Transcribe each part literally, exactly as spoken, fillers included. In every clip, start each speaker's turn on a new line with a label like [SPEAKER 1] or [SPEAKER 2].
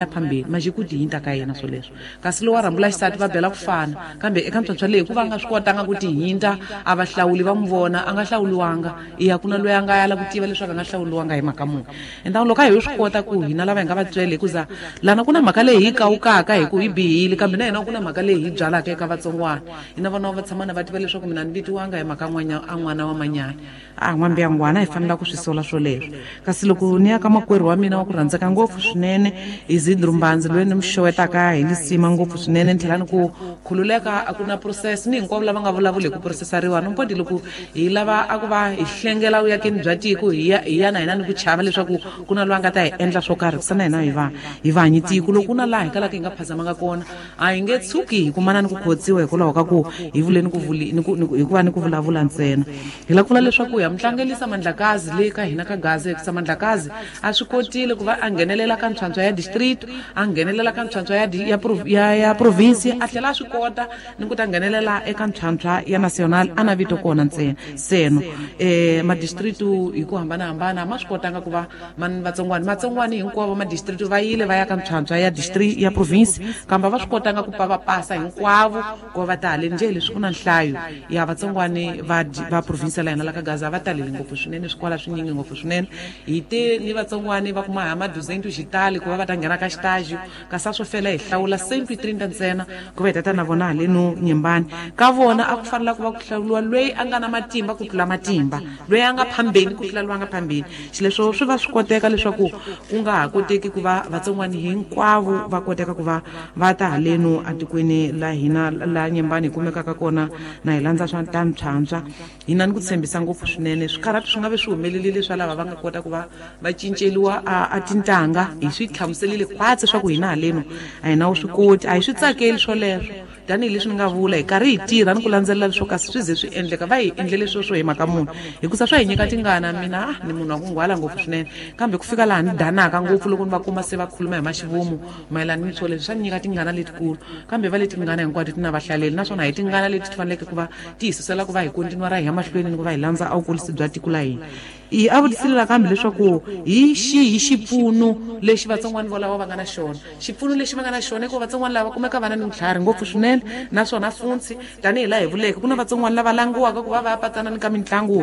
[SPEAKER 1] Phambili majiku tihinta ka yena swoleswo kasi lowa rhambula xisati va bela ku fana kambe eka ntswantswa leyi ku va nga swi kotanga ku tihinta a va hlawuli va n'wi vona a nga hlawuliwanga iya ku na loyi a nga yala ku tiva leswaku a nga hlawuliwanga hi mhaka muni. Enta loko a hi swi kota ku hina lava hi nga vatswele hikuza lana ku na mhaka leyi hi kawukaka hi ku hi bihile kambe na hina ku na mhaka leyi hi byalaka eka vatsongwana hina vana va tshama na va tiva leswaku mina ni vitiwanga hi mhaka n'wanya a n'wana wa manyana a n'wambiyangwana hi fanela ku swi sola swoleswo. Kasi loko ni ya ka makwerhu wa mina wa ku rhandzeka ngopfu swinene Isidro Mbanzi loyi ni mi xewetaka hi lisima ngopfu swinene ni tlhela ni ku khululeka a ku na process ni hinkwavo lava nga vulavuli hi ku processariwa no mpoti loko hi lava a ku va hi hlengela vuyakeni bya tiko hi ya hi ya na hina ni ku chava leswaku ku na loyi a nga ta hi endla swo karhi ku sana hina hi va hi va hanyi tiko loko ku na laha hi kalaka hi nga phazamanga kona a hi nge tshuki hi kumana ni ku khotsiwa hikwalaho ka ku hi vule ni ku vuli ni ku hikuva ni ku vulavula ntsena. Hi lava ku vula leswaku ya mutlangelisa Mandlakazi le ka hina ka Gaza hikusa Mandlakazi a swi kotile ku va a nghenelela ka ntswantswa ya district a nghenelela ka ntswantswa ya ya ya ya province a tlhela a swi kota ni ku ta nghenelela eka ntswantswa ya national a na vito kona ntsena seno eh ma district hi ku hambanahambana ma swi kotanga ku va vatsongwani matsongwani hinkwavo ma district va yile va ya ka ntswantswa ya district ya province kambe va swi kotanga ku pa va pasa hinkwavo ku va ta haleni njhe leswi ku na nhlayo ya vatsongwani va va province la hina la ka Gaza va talele ngopfu swinene swikwala swinyingi ngopfu swinene hi te ni vatsongwani va kuma ha maduzentu xitali ku va va ta nghena ka xitaji kasi a swo fela hi hlawula cento trenta ntsena ku va hi tata na vona haleno Nyembani ka vona a ku fanela ku va ku hlawuriwa loyi a nga na matimba ku tlula matimba loyi a nga phambeni ku tlula loyi a nga phambeni xileswo swi va swi koteka leswaku ku nga ha koteki ku va vatsongwani hinkwavo va koteka ku va va ta haleno atikweni la hina la Nyembani hi kumekaka kona na hi landza swa ta ntswantswa hina ni ku tshembisa ngopfu swinene swikarhati swi nga ve swi humelerile swa lava va nga kota ku va va cinceliwa a, a tintanga hi swi hlamuselile khwatsi swa ku hina haleno a hi na wu swi koti a hi swi tsakeli swoleswo tanihileswi ni nga vula hi karhi hi tirha ni ku landzelela leswo kasi swi ze swi endleka va hi endlele sweswo hi mhaka munhu hikusa swa hi nyika tingana mina ni munhu wa ku nghwala ngopfu swinene kambe ku fika laha ni danaka ngopfu loko ni va kuma se va khuluma hi maxivomu mayelana ni swoleswo swa ni nyika tingana letikulu kambe va leti tingana hinkwato ti na vahlaleli naswona hi tingana leti ti faneleke ku va ti hi susela ku va hi kontinua ra hi ya mahlweni ni ku va hi landza a vukurisi bya tiko la hina. I a vutisile kambe leswaku hi xihi xipfuno lexi vatsongwani volavo va nga na xona xipfuno lexi va nga na xona i ku vatsongwani lava kumeka va na ni vutlhari ngopfu swinene naswona funtsi tanihi laha hi vuleke ku na vatsongwani lava langiwaka ku va va ya patsana ni ka mitlangu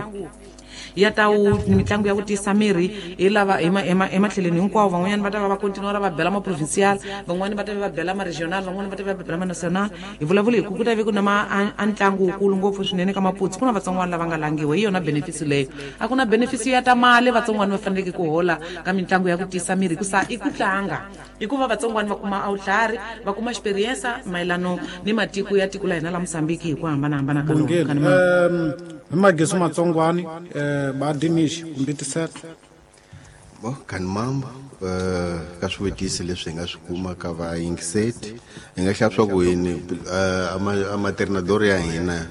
[SPEAKER 1] ya ta wu mitlangu ya ku tiyisa miri hi lava ematlhelweni hinkwavo van'wanyana va ta va va kontinua va bela ma-provincial van'wani va ta va bela ma-regional van'wani va ta va bela ma-national hi vulavula hi ku ku ta ve ku na ma a ntlangu wukulu ngopfu swinene ka maputsi ku na vatsongwana lava nga langiwa hi yona benefits leyo a ku na benefits ya ta mali vatsongwana va faneleke ku hola ka mitlangu ya ku tiyisa miri hikusa i ku tlanga i ku va vatsongwana va kuma awutlhari va kuma experience mayelano ni matiko ya tiko la hina la Mozambique hi ku hambanahambana ka
[SPEAKER 2] lona. Hi magezi matsongwani eh ba Dinish kumbe tiseto
[SPEAKER 3] bo kan mambo eh ka swivutiso leswi hi nga swi kuma ka vayingiseti hi nga xava swa ku yini a maternador ya hina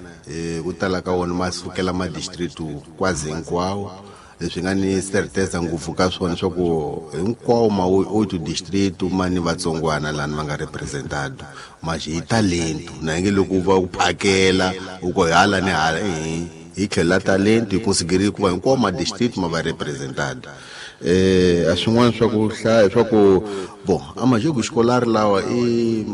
[SPEAKER 3] ku tala ka wona ma sukela ma district kwazi hinkwawo leswi nga ni certeza ngopfu ka swona swa ku hinkwawo ma oito district ma ni vatsongwana lani va nga representado maxi hi talento na nge loko va ku phakela u ko hala ni hala hi hi tlhela talento hi considerile ku va hinkwawo ma district ma va representado eh a swin'wana swa ku hlaya swa ku bon a majogo escolar lawa i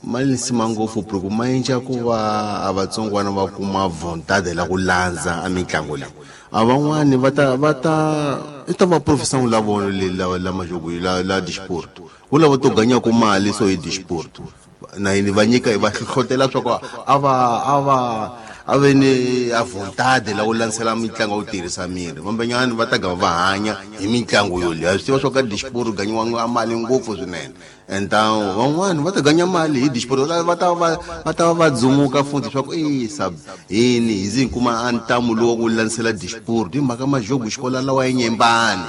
[SPEAKER 3] ma lisima ngopfu ku ma endla ku va a vatsongwana va kuma vontade la ku landza a mitlangu leyi a van'wani va ta va ta i ta va professor la vona le la la majogo la la disport ku lava to ganya ku mali so hi disport na yini va nyika va hlohlotela swa ku a va a va a ve ni a vontade la ku landzela mitlangu ya ku tirhisa miri vambanyani va ta gava va hanya hi mitlangu yoleyo swi tiva swa ka disport ganyiwa mali ngopfu swinene então van'wani va ta ganya mali hi disport va ta va va ta va dzumuka futhi swa ku e sab yini hi zi kuma a ntamu lowu ku landzela disport hi mhaka majogo xikola lawa ya Nyembani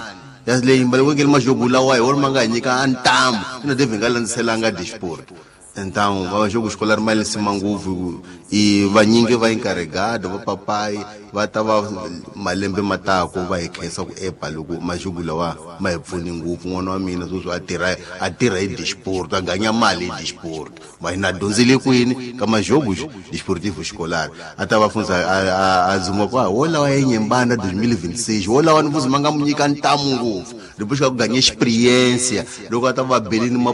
[SPEAKER 3] ya leyi mbalekeke majogo lawa hi wona ma nga hi nyika a ntamu ina devhe nga landzelanga disport. Então va jogo escolar mali sima ngopfu i vanyingi va encarregado va papai va ta va malembe matako va hi khensa ku epa loko majogo lawa ma hi pfuni ngopfu n'wana wa mina sweswi a tirha a tirha hi disport a ganya mali hi disport ma hina dyondzile kwini ka majogo desportivo escolar a ta va fundza a dzuma kwa wo lawa ya Nyembana twenty twenty-six wo lawa ni mfuzi ma nga mu nyika ntamu ngopfu depois ka ku ganya experiência loko a ta va belini ma